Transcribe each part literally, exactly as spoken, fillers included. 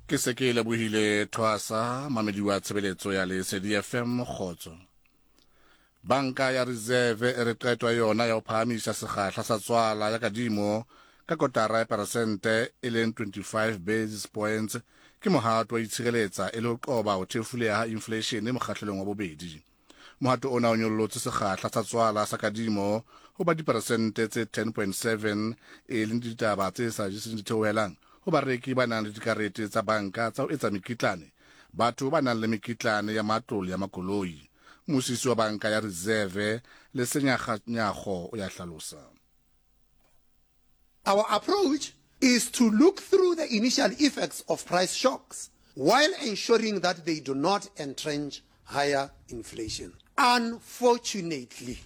Ke se ke lebohile thwasa mamedi wa tshebeletso ya Lesedi F M kgotso. Banka ya Reserve e re qeto ya yona ya ho phahamisa sekgahla sa tswala ya kadimo ka kotara ya peresente e leng twenty-five basis points ke mohato wa itshireletsa e le ho qoba ho thefuleha ha inflation mokgahlelong wa bobedi. Mohato ona o nyollotse sekgahla sa tswala sa kadimo ho ba diperesente tse ten point seven e leng ditaba tse sa jeseng ditheohelang ho bareki ba nang le dikarete tsa banka tsa ho etsa mekitlane, batho ba nang le mekitlane ya matlo le ya makoloi. Mmusisi wa banka ya Reserve Lesenya Kganyago o ya hlalosa. Our approach is to look through the initial effects of price shocks while ensuring that they do not entrench higher inflation. Unfortunately,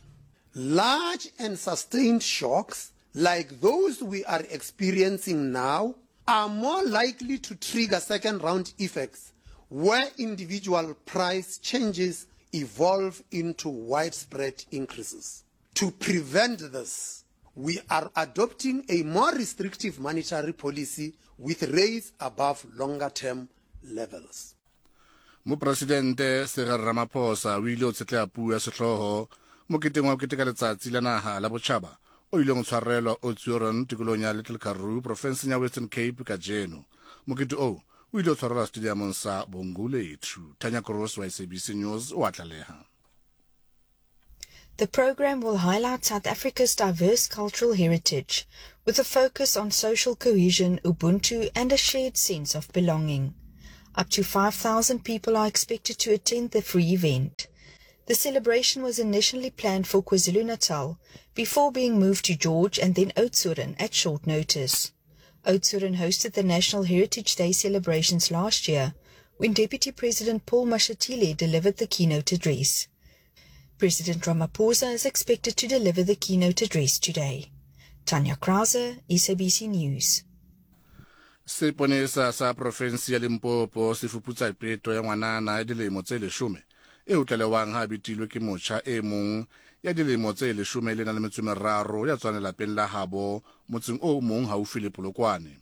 large and sustained shocks like those we are experiencing now are more likely to trigger second round effects where individual price changes evolve into widespread increases. To prevent this, we are adopting a more restrictive monetary policy with rates above longer-term levels. Mopresidente Cyril Ramaphosa o ile o tshetleha puo ya sehlooho moketeng wa ho keteka letsatsi la naha la botjhaba o ileng o tshwarelwa Oudtshoorn tikolong ya Little Karoo profenseng ya Western Cape kajeno. Mokete oo o ile o tshwarelwa stadiumong sa Bongolethu. Tanya Kroos wa S A B C News o a tlaleha. The program will highlight South Africa's diverse cultural heritage, with a focus on social cohesion, Ubuntu, and a shared sense of belonging. Up to five thousand people are expected to attend the free event. The celebration was initially planned for KwaZulu-Natal before being moved to George and then Oudtshoorn at short notice. Oudtshoorn hosted the National Heritage Day celebrations last year when Deputy President Paul Mashatile delivered the keynote address. President Ramaphosa is expected to deliver the keynote address today. Tanya Krause, S A B C News. Seponesa sa provinsi ya Limpopo se fuputsa peto ya ngwanana ya dilemo tse leshome e utlwelewang ha betilwe ke motjha e mong ya dilemo tse leshome le nang le metso e meraro ya tswang lelapeng la habo motseng o mong haufi le Polokwane.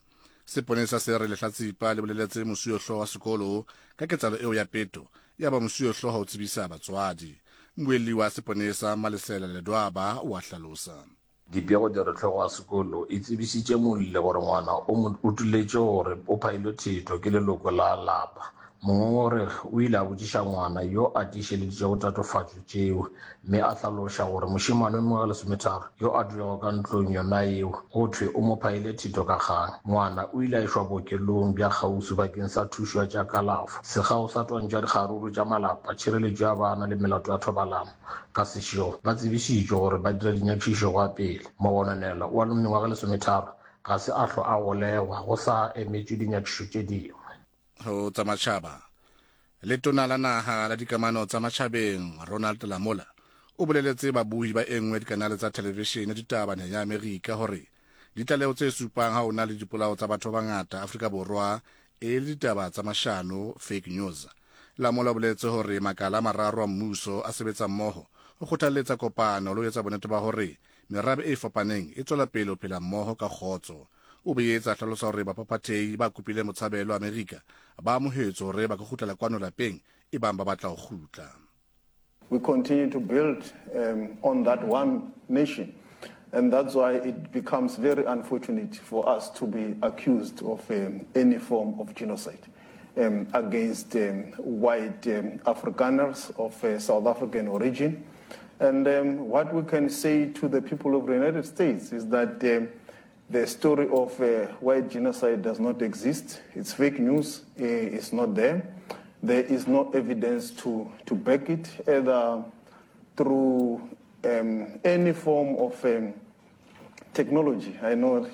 Seponesa se re lehlatsipa le boleletse mosuwehlooho wa sekolo ka ketsahalo eo ya peto, ya ba mosuwehlooho o tsebisa batswadi. Mmuelli wa seponesa Malesela Ledwaba o a hlalosa. Dipego di re hlogo ya sekolo e tsebisitše molle gore ngwana o mo utuletše gore o phailwe thetho ke leloko la lapa. Mongongoregi o ile a botšiša ngwana yo a tiišeleditšego tatofatšo tšeo mme a hlaloša gore mošemane wa mengwaga lesometharo yo a dulago ka ntlong yona eo go thwe o mo phaile thetho ka kgang. Ngwana o ile a išwa bookelong bja kgauswi bakeng sa thušo ya tša kalafo. Sekgao sa twantšho ya dikgaruru tša malapa, tšhireletšo ya bana le melato ya thobalano ka sešego ba tsebišitšwe gore ba dira dinyakišišo go ya pele. Mogononelwa wa mengwaga lesometharo ga se a hlwa a golegwa go sa emetšwe dinyakišišo tše dingwe. Ho tsa matjhaba, letona la naha la dikamano tsa matjhabeng Ronald Lamola o boleletse babuhi ba e nngwe dikanale tsa televishene ditaba naheng ya Amerika hore ditlaleho tse supang ha ho na le dipolao tsa batho ba bangata Afrika Borwa e le ditaba tsa mashano, fake news. Lamola o boletse hore makala a mararo a mmuso a sebetsa mmoho ho kgothalletsa kopano le ho etsa bonnete ba hore merabe e fapaneng e tswela pele ho phela mmoho ka kgotso. O boetse a hlalosa hore baphaphathehi ba kopile motshabelo Amerika ba amohetswe hore ba ka kgutlela kwano lapeng e bang ba batla ho kgutla. We continue to build, um, on that one nation, and that's why it becomes very unfortunate for us to be accused of, um, any form of genocide, um, against, um, white, um, Afrikaners of, uh, South African origin. And, um, what we can say to the people of the United States is that, um, the story of, uh, white genocide does not exist. It's fake news. It's not there. There is no evidence to, to back it, either through, um, any form of, um, technology. I know